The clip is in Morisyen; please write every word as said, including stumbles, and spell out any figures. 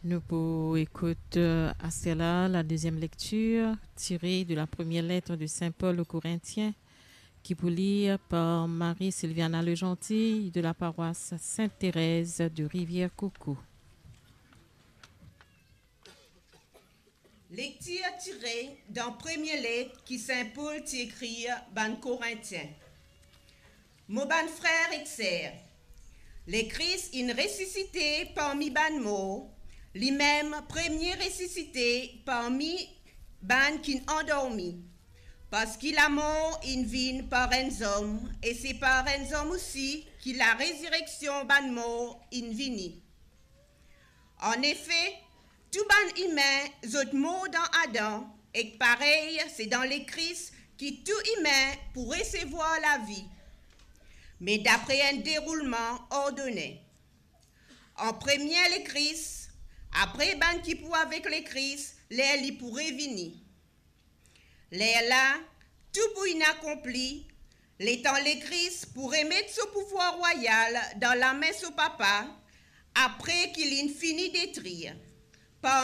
Nous pour écouter à cela la deuxième lecture tirée de la première lettre de Saint Paul aux Corinthiens, qui pour lire par Marie Sylviana Legentille de la paroisse Sainte-Thérèse de Rivière-Coucou. Lektir tire dan premie let ki Sin Pol ti ekrir bann Korintien. Mo bann frer ek ser, Lekris inn resisite parmi bann mor, limem premie resisite parmi bann ki'nn andormi, parski lamor inn vinn par enn zom, e se par enn zom osi ki larezireksion bann mor inn vini. Anefe, tou bann imin, zot mor dan Adan, ek parey se dan Lekris ki tou imin pou resevwar lavi, me dapre enn deroulman ordone. An premie Lekris, apre bann ki pou avek Lekris ler li pou revini. Lerla, tou pou inn akonpli, letan Lekris pou remet so pouvwar rwayal dan lame so Papa, apre ki li'nn fini detrir, parmi